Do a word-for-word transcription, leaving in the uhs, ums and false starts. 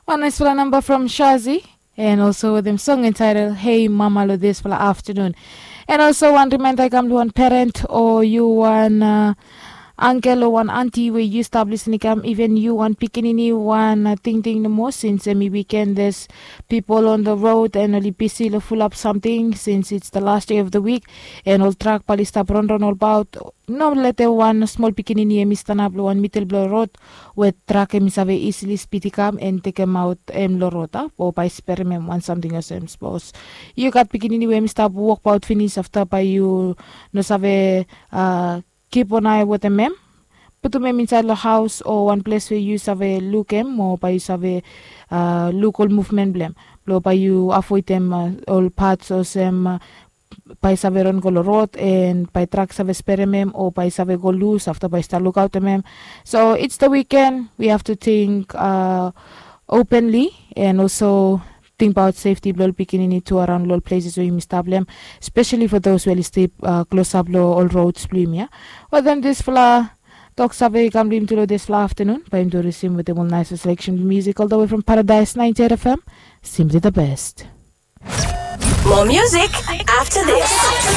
Wan naisfala namba from Shazi, and also wetem song entitled Hey Mama lo disfala aftanun. And also wan rimainda i kam lo wan parent o yu wan uh, angkel o wan anti we yu stap lisin i kam, even yu wan pikinini, wan uh, tingting nomo, since em i weekend, there's people on the road and oli bisi lo fulap samting since it's the last day of the week, and ol trak bali stap ronron olbaot. No lete wan smol pikinini em i stanap lo wan midel blo rod we trak em i save isili spid i kam en tekemaot em lo rod a, o bae sperem em wan samting olsem sapos yu gat pikinini we em i stap wokbaot finis, afta bae yu no save uh, kip wan ae wetem em. Putum em insaed lo haos o wan ples we yu save luk em, o bae yu save uh, luk ol muvmen blem, blo bae yu avoedem uh, ol pats olsem uh, bae save ron go lo rod, en bae trak save sperem em, o bae save go lus afta bae stap lukaotem em. So it's the weekend, we have to think uh, openly, and also tingbaot sefti blo ol pikinini tu araon lo ol pleses we yumi stap lo em, especially for those we oli stap uh, klosap lo ol rods blo yumi ya. Wetem disfala tok save i kam lo yumi tu lo disfala aftanun, bae yumi tu risim wetem ol naisfala selection blo music all the way from Paradise ninety-eight F M. Simply the best. More music after this.